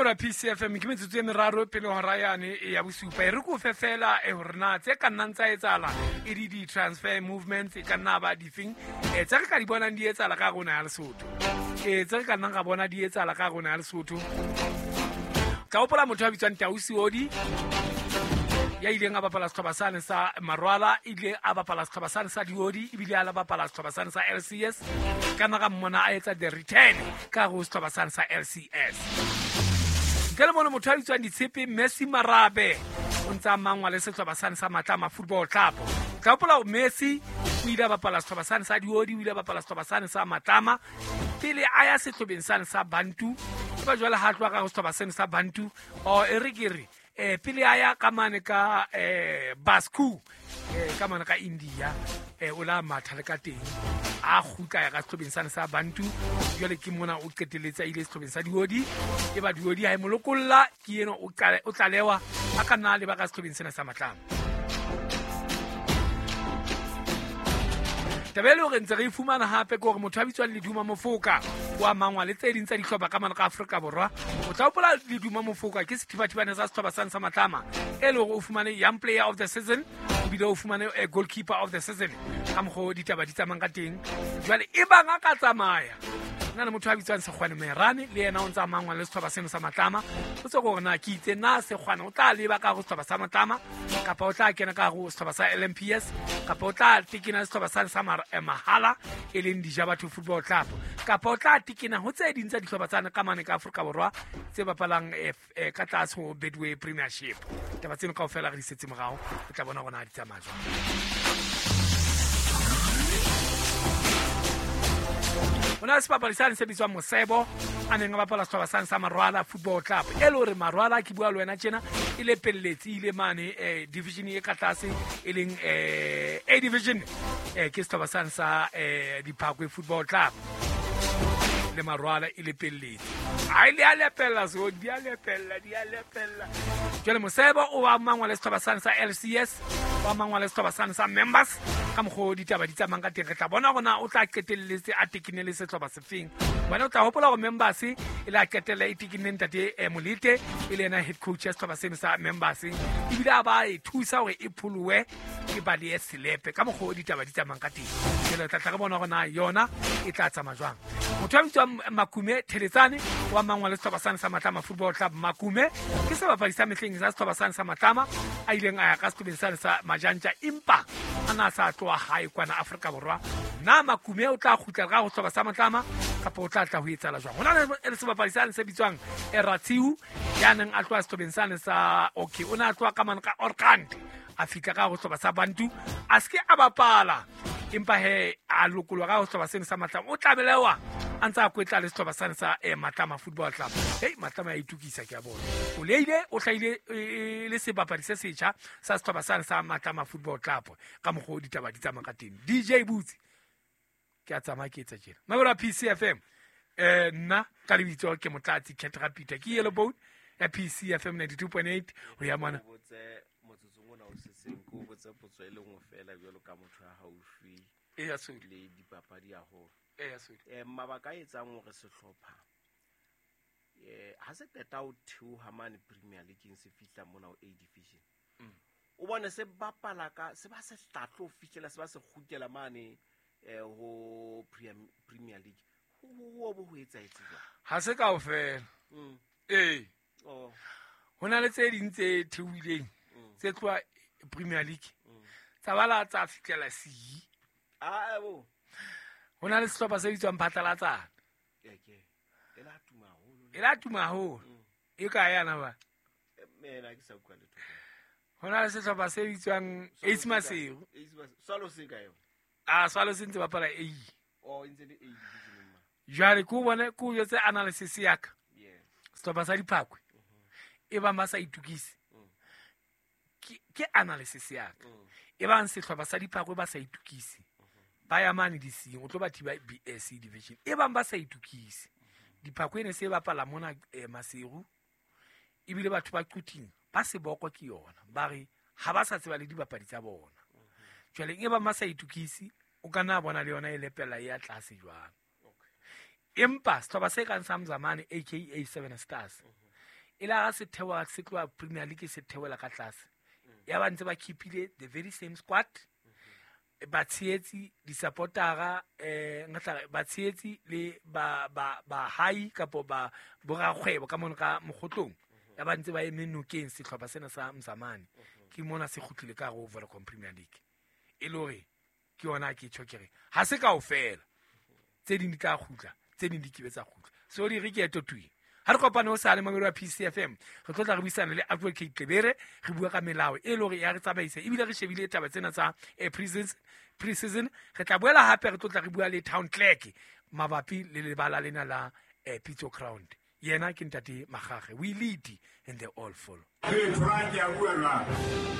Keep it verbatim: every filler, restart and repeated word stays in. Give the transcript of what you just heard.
Mabura P C F M ke metsotso e meraro pele hora yane ya bosupa. E re ko fe fela e hore na tse ka nnang tsa etsahala e di di-transfer movements e ka nna ba difeng e tse re ka di bonang di etsahala ka rona ya Lesotho. E tse re ka nnang ra bona di etsahala ka rona ya Lesotho. Ka hopola motho a bitswang Tau Seodi ya ileng a bapala sehlopha sane sa Marwala, ile a bapala sehlopha sane sa Diodi, ebile a la bapala sehlopha sane sa L C S. Ka nna ka mmona a etsa the return ka go sehlopha sane sa L C S. Ntle le mono motho a bitswang Ditshepe Messi Marabe o ntse a mangwa le sehlopha sane sa Matlama Football Club. Ka hopola hore Messi o ile a bapala sehlopha sane sa Diodi, o ile a bapala sehlopha sane sa Matlama pele a ya sehlopheng sane sa Bantu. Ba jwale ha tloha ka go sehlopha sane sa Bantu o e re ke re eh pele a ya ka mane ka eh Basku eh ka mane ka India eh o la matha le ka teng a kgutla ya ka sehlopheng sane sa Bantu. Jwale ke mona o qetelletse a ile sehlopheng sa Diodi, e ba Diodi ha e mo lokolla ke eno o o tlalewa a ka nna le ba ka sehlopheng sena sa Matlama. Taba e le hore ntse re e fumana hape ke hore motho a bitswang Leduma Mofoka wa mangwa le tse ding tsa dihlopha ka mane ka Afrika Borwa. O tla hopola Leduma Mofoka ke sethibathibane sa sehlopha sane sa Matlama e le hore o fumane Young Player of the Season, ebile o fumane Goalkeeper of the Season ka mokgwa o ditaba di tsamayang ka teng. Jwale e bang a ka tsamaya na le motho a bitswang Sekgwane Merane le yena o ntse a mangwa le sehlopha seno sa Matlama. O tse gore na ke itse na Sekgwane o tla leba ka go sehlopha sa Matlama kapa o tla kena ka go sehlopha sa L M P S kapa o tla tekena sehlopha sane sa Mahala e leng Dijabatho Football Club kapa o tla tekena ho tse ding tsa dihlopha tsane ka mane ka Afrika Borwa tse bapalang ka tlase ho Betway Premiership. Taba tseno kaofela re di setse morao, o tla bona hore na di tsamaya jwang. Ho na le sebapadi sane se bitswang Mosebo a neng a bapala sehlopha sane sa Marwala Football Club. E le hore Marwala ke bua le wena tjena e lepelletse ile mane eh, division e ka tlase e leng eh, A division eh, ke sehlopha sane sa eh, Diphakwe Football Club le Marwala e lepelletse. Ha ile a lepella so di a lepella di a lepella. Jwale Mosebo o wa mangwa le sehlopha sane sa L C S, wa mangwa le sehlopha sane sa Members ka mokgwa o ditaba di tsamayang ka teng. Re tla bona hore na o tla qetelletse a tekenne le sehlopha sefeng. Wena o tla hopola hore Members e la qetella e tekenne ntate Molete e le yena head coach ya sehlopha seno sa Members, ebile a ba e thusa hore e pholowe e balehe selepe ka mokgwa o ditaba di tsamayang ka teng. Jwale re tla tla re bona hore na yona e tla tsamaya jwang. Motho a bitswang Makume Theletsane wa mangwa le sehlopha sane sa Matlama Football Club. Makume ke sebapadi sa mehleng sa sehlopha sane sa Matlama a ileng a ya ka sehlopheng sane sa Majantja empa a na sa tloha hae kwana Afrika Borwa. Na Makume o tla kgutlela ka ho sehlopha sa Matlama kapa o tla tla ho etsahala jwang? Ho na le sebapadi sane se bitswang Eratsiu ya neng a tloha sehlopheng sane sa okay o ne a tloha ka mane ka Orkant a fihla ka ho sehlopha sa Bantu a se ke a bapala empa he a lokolwa ka ho sehlopha seno sa Matlama. O tlamelewa a ntse a kwetla le sehlopha sane sa eh, Matlama Football Club. Hei Matlama ya itukisa ke a bona. O leile o hlahile e le sebapadi se setjha sa sehlopha sane sa Matlama Football Club ka mokgwa o ditaba di tsamayang ka teng. D J Boots ke a tsamaya ke etsa tjena. Mabura P C F M eh nna ka lebitso ke Motlatsi Ketra Peter ke Yellow Bone ya P C F M ninety-two point eight ho ya mona. Motsotsong ona o setseng ke o botse potso e le nngwe fela jwalo ka motho ya haufi e ya Sodi le dipapadi haholo. E ya Sodi. Eh mabaka a etsang hore sehlopha eh ha se qeta ho theoha mane Premier League se fihla mona ho A division. Mm. O bone se bapala ka se ba se hlatlo fihlela se ba se kgutlela mane eh ho Premier League. Ho ho bo ho etsahetse jwang? Ha se kaofela. Mm. Eh. Oh. Ho na le tse ding tse theohileng tse tloha Premier League. Tsa bala tsa fihlela C. Ah bo. Ho na le sehlopha se bitswang Phatlalatsana. Ke ke. E la tuma haholo. E la tuma haholo. E kae yana ba? Mena ke sa utlwa letho. Ho na le sehlopha se bitswang Ace Maseru. Ace Maseru. Swalo se kae yona? Ah Swalo se ntse bapala A. Oh, e ntse le A division ma. Jwale ke o bone ke o jwetse analysis ya ka. Yes. Sehlopha sa Diphakwe. E bang ba sa itukise. Ke ke analysis ya ka. E bang sehlopha sa Diphakwe ba sa itukise. Ba ya mane di sing o tlo ba thiba B S C division. E bang ba sa itukise. Diphakwe ne se bapala mona eh, Maseru. Ebile batho ba Quthing ba seboko ke yona. Ba re ha ba sa tseba le dibapadi tsa bona. Jwale e bang ba sa itukise o ka nna bona le yona e lepela ya tlase jwang. Empa sehlopha se kang sa Mzamane A K A Seven Stars E la ga se theoha, se tloha Premier League se theohela ka tlase, ya ba ntse ba keepile the very same squad, batshehetsi, di-supportera, um nka tla re batshehetsi le ba ba bahai kapo ba borakgwebo ka mono ka mokgotlong, ya ba ntse ba eme nokeng sehlopha sena sa Mzamane. Ke mona se kgutlile ka hare ho Vodacom Premier League. E le hore ke yona ke tjho ke re ha se kaofela, tse ding di tla kgutla, tse ding di kebe tsa kgutla. So di re ke eto tui ha re kopane ho sale mamelo wa P C F M, re tlo tla re buisana le Advocate Tlebere, re bua ka melao e le hore ya re tsamaisa, ebile re shebile taba tsena tsa eh, pre-season pre-season Re tla boela hape re tlo tla re bua le town clerk mabapi le lebala lena la eh, Pitso Ground. Yena ke ntate Magage. We lead and they all follow. Hey, Frank, ke a bua jwang?